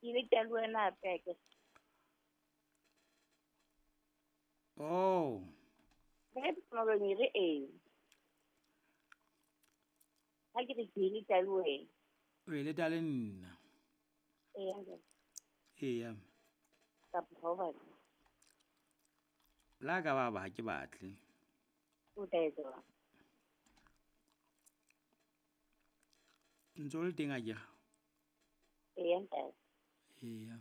Ke ile ke le wena hape akere. Oh. Ntate Pitso Malobeng e re ee. Ha ke re ke ile ka le wena. O ile ta le nna. Eya ntate. Eya. Kapa ha o batle. La ka baba ha ke batle. O tla etsa jwang? Ntse o le teng akere? Eya ntate. Eya.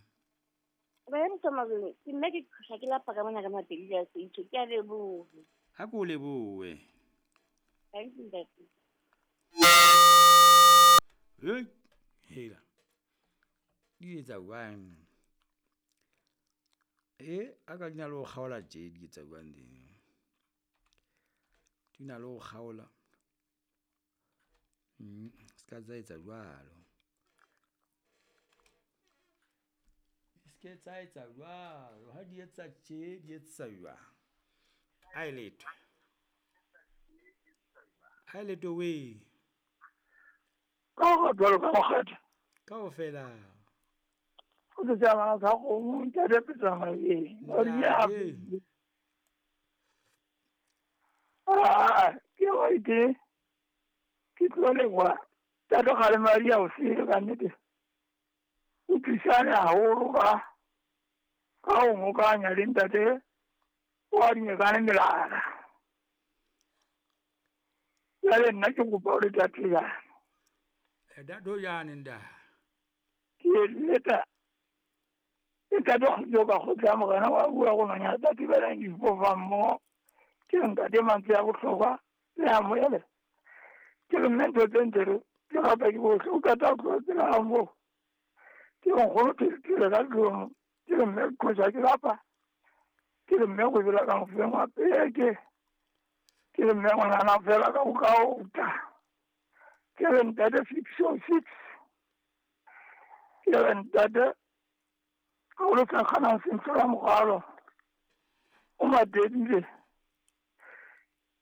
Ntate Pitso Malobeng, ke nna ke qhosha ke lapa ka mona ka mapedi le a seitho. Ke a leboha. Ha ke o lebohe. Thank you ntate. Hey, hela. Di etsa jwang? A ka di na le ho kgaola tje, di etsa jwang di? Di na le ho kgaola. Se ka tsa etsa jwalo. Se ke tsa etsa jwalo. Ha di etsa tje, di etsa jwang? A e letho. A e letho we. Ka ho jwalo ka mokgatlo. Kaofela. O tse tsamaya ka kgomo, ntate Pitso Malobeng. Ntate. Ah, ke wa ite. Ke tlo leboha. Ntate Kgalema di a o sele ka nnete. O thusane haholo ka ho ngokanya le ntate wa dinyekane melala. Jwale nna ke kopa hore tate jana. Ntate jane nda. Ke leta. Ntate kgotso ka kgotsa morena wa bua go manya tate ba leng difofa mmoho. Ke ntate mantswe a bohlokwa le a moyele. Ke re mme ntho tse ntse re ke rata ke bohle o qeta ho tloha tsela ya moo. Ke re nkgono ke le ka tlung. Ke re mme kgotsa ke lapa. Ke re mme go bela ka mofeng wa peke. Ke re mme ngwanana fela ka go kaota. Ke re ntate 606. Ke re ntate ka o le tla kgana sentle la mogalo. O matedile.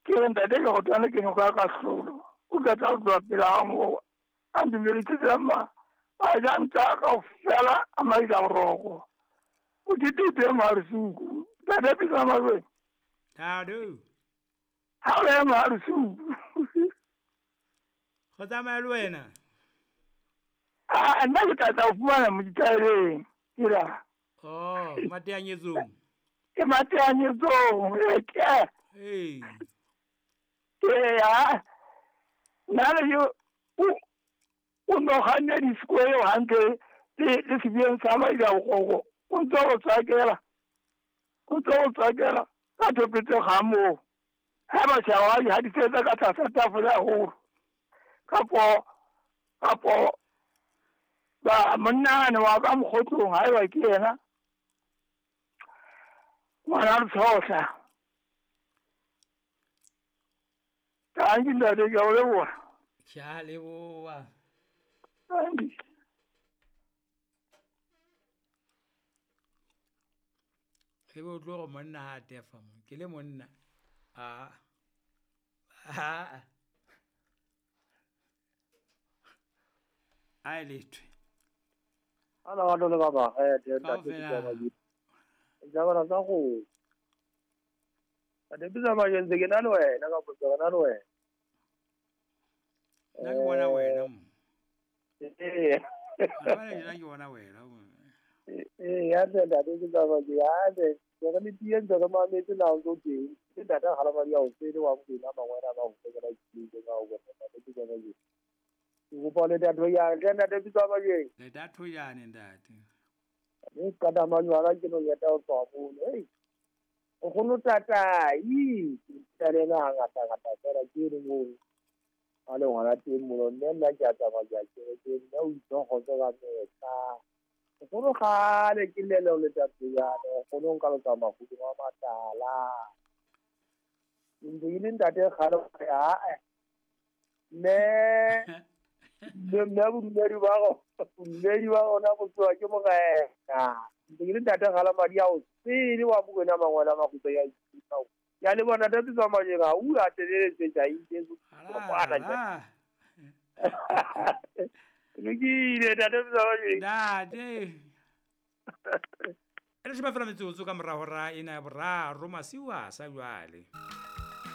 Ke re ntate ke go tshwane ke nyoka ka hlolo. O tla tla tloha pele ga moo. A ndumeletse tsela ma. A ja ntsa kaofela a maila boroko. O ditete marusuku. Ntate Pitso Malobeng. Ntate. Ha o le marusuku. Go tsamaya le wena. Ah, nna ke tla tla o fumana mo ditaeleng. Ke ra. Oh, mateanyetsong. Ke mateanyetsong, ke. Ee. Ee, nna le yo o no kganne di-square hantle le sebiyeng sa maila bogogo. O ntse o tswakela. O ntse o tswakela ka thopetse ga moo. Ha ba tjhawa ha di tsetsa ka tlasa tafole haholo. Kapo ba monna wa ka mokgotlong ha eba ke yena. Ngwana Letshohla. Thank you ntate, ke a o leboha. Ke a leboha. Thank you. E be o tlo go monna ha a tefa mo. Ke le monna. A. A. A e lethwe. Ala wa le baba, ntate Kaofela. Jabana tsa go. Ntate Pitso Malobeng ntse ke na le wena ka potso ke na le wena. Nna ke bona wena mo. Ee. Nna ke bona wena mo. Ee, ya ntate Pitso Malobeng, ya ntate ke re le tie ntse re mametse na o ntso teng. Ke ntate Kgalema di a o sele wa Mokwena mangwena ba go fekela ke ka o bona ntate Pitso Malobeng. Ke kopa le ntate ya ntle ntate Pitso Malobeng. Le datho jane ntate. Mme ka da majwala ke no yeta o tswa mono. Hey. O kgono tata, i tsa le na ngata ngata fela ke re mo. A le ngwana teng mono mme nna ke a tsamaya ke a ke nna o itse go tswa ka metsa. O kgono gale ke lele o le tatso yana, o kgono nka lo tsamaya godimo wa matala. Ntse ke le ntate kgale a mme mme bodumedi ba go bodumedi ba gona go tsoa ke morena. Ntse ke le ntate Kgalema di a o sele wa Mokwena mangwana makgutso ya ithuta. Ya le bona ntate Pitso Malobeng ha o a teleletse tsa itse Ala. Ala. Lokile ntate Pitso Malobeng. Ntate. E le sheba fela metsotso ka mora hora ena ya boraro masiu a sa jwale.